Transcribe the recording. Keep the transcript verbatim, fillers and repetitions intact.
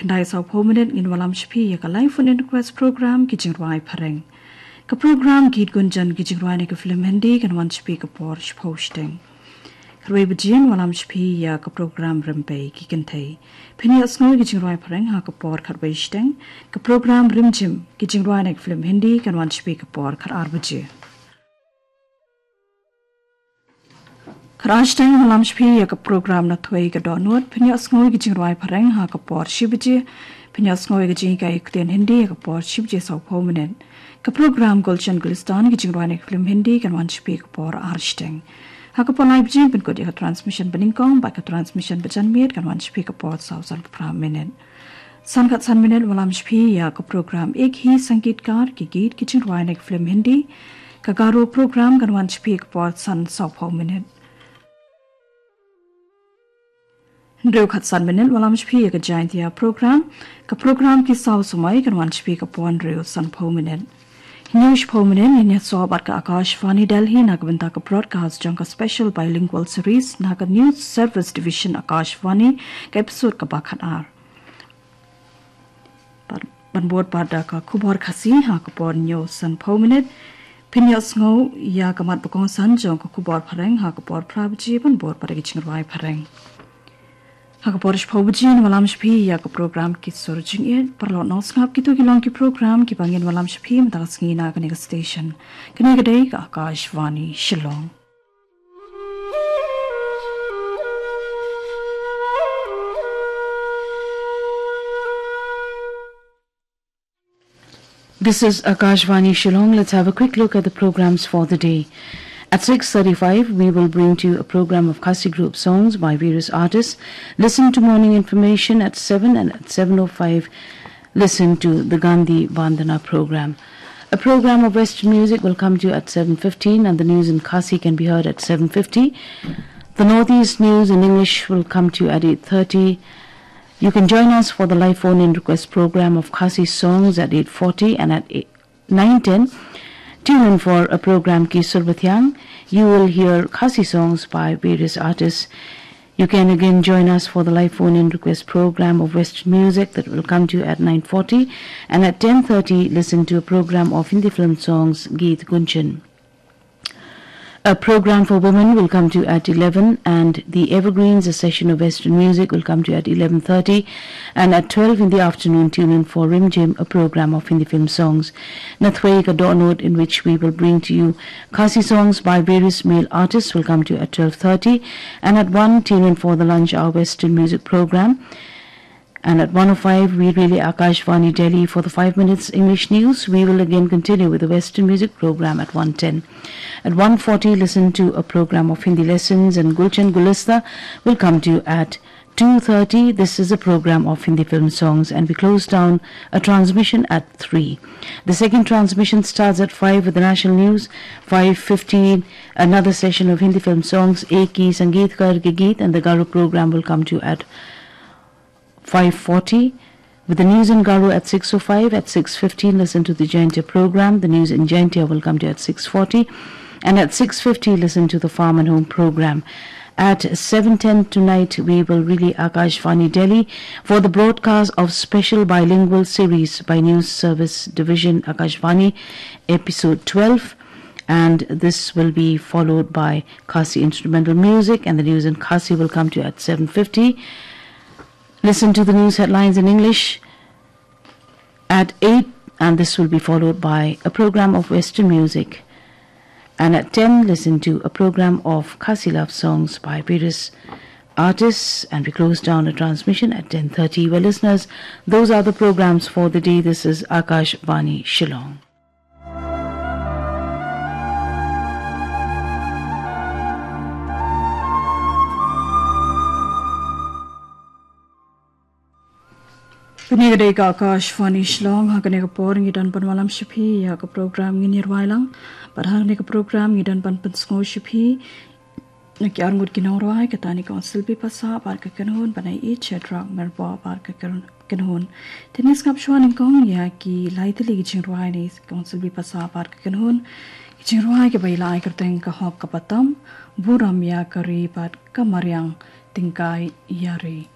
Khyndai sawphew minit ngin wallam sha phi ïa ka live phone in request program, ki jingrwai phareng. Ka program Geet Gunjan, ki jingrwai na ka film Hindi, kan wan sha phi ka por shiphew shiteng. Khatwei baje ngin wallam sha phi ïa ka program Rympei ki Kynthei. Phin ïohsngew ïa ki jingrwai phareng ha ka por khatwei shiteng. Ka program Rimjim, ki jingrwai na ka film Hindi, kan wan sha phi ka por khatar baje. Khatar shiteng ngin wallam sha phi ïa ka program Nathwei ka Dohnud, phin ïohsngew ïa ki jingrwai phareng ha ka por shi baje. Phin ïohsngew ïa ka jinghikai ktien Hindi ha ka por shi baje sawphew minit. Ka program Gulshan Gulistan, ki jingrwai na ka film Hindi, kan wan sha phi ka por ar shiteng. Ha ka por lai baje pynkut ïa ka transmission banyngkong, bad ka transmission bajanmiet kan wan sha phi ka por saw san phra minit. San khatsan minit ngin wallam sha phi ïa ka program Ek Hi Sangeetkar, ki geet ki jingrwai na ka film Hindi. Ka Garo program kan wan sha phi ka por san sawphew minit. Hynriew khatsan minit ngin wallam sha phi ïa ka Jaintia program. Ka program Ki Saw Samoi kan wan sha phi ka por hynriew sanphew minit. Hynñiew shiphew minit ngin ïasoh bad ka Akashvani Delhi na ka bynta ka broadcast jong ka special bilingual series na ka News Service Division Akashvani, ka episode kaba khatar. Bad ban bud pat da ka khubor Khasi ha ka por hynñiew sanphew minit. Phin ïohsngew ïa ka mat ba kongsan jong ka khubor phareng ha ka por phra baje, ban bud pat da ki jingrwai phareng. Ha ka por shiphew baje ngin wallam sha phi ïa ka program Ki Sur Jingïeit. Paralok nongsngap, kito ki long ki program kiba ngin wallam sha phi mynta ka sngi na kane ka station. Kane ka dei ka Akashvani Shillong. This is Akashvani Shillong. Let's have a quick look at the programs for the day. At six thirty-five, we will bring to you a program of Khasi group songs by various artists. Listen to morning information at seven, and at seven oh five, listen to the Gandhi Vandana program. A program of Western music will come to you at seven fifteen, and the news in Khasi can be heard at seven fifty. The Northeast news in English will come to you at eight thirty. You can join us for the live phone-in request program of Khasi songs at eight forty, and at eight, nine ten, tune in for a program Ki Sur Bathiang. You will hear Khasi songs by various artists. You can again join us for the live phone-in request program of Western music that will come to you at nine forty, and at ten thirty, listen to a program of Hindi film songs, Geet Gunjan. A program for women will come to you at eleven, and the Evergreens, a session of Western music, will come to you at eleven thirty, and at twelve in the afternoon, tune in for Rimjim, a program of Hindi film songs. Nathwei ka Dohnud, in which we will bring to you Khasi songs by various male artists, will come to you at twelve thirty, and at one, tune in for the lunch hour Western music program. And at one oh five, we relay Akashvani Delhi for the five minutes English news. We will again continue with the Western music program at one ten. At one forty, listen to a program of Hindi lessons, and Gulshan Gulista will come to you at two thirty. This is a program of Hindi film songs, and we close down a transmission at three. The second transmission starts at five with the national news. Five fifteen, another session of Hindi film songs, Ek Hi Sangeetkar Ke Geet, and the Garo program will come to you at five forty. With the news in Garo at six oh five, at six fifteen, listen to the Jaintia program. The news in Jaintia will come to you at six forty. And at six fifty, listen to the Farm and Home program. At seven ten tonight, we will relay Akashvani Delhi for the broadcast of special bilingual series by News Service Division Akashvani, episode twelve. And this will be followed by Khasi instrumental music, and the news in Khasi will come to you at seven fifty. Listen to the news headlines in English at eight, and this will be followed by a program of Western music. And at ten, listen to a program of Khasi love songs by various artists, and we close down a transmission at ten thirty. Well, listeners, those are the programs for the day. This is Akashvani Shillong. Kane ka dei ka Akashvani Shillong. Ha kane ka por ngi don ban wallam sha phi ïa ka program Ngin Ïarwai Lang. Bad ha kane ka program ngi don ban pynsngew sha phi na ki arngut ki nongrwai, ka Tani Kong Silbi Pasa bad ka kynhun, bad na i Chedrak Merbo bad ka kyn-, kynhun. Te ngin sngap shuwa nyngkong ïa ki lai tylli ki jingrwai na i Kong Silbi Pasa bad ka kynhun. Ki jingrwai kiba i la ai kyrteng Ka Hok Kaba Tam, Burom ïa ka Ri bad Ka Mariang Tyngkai ïa Ri.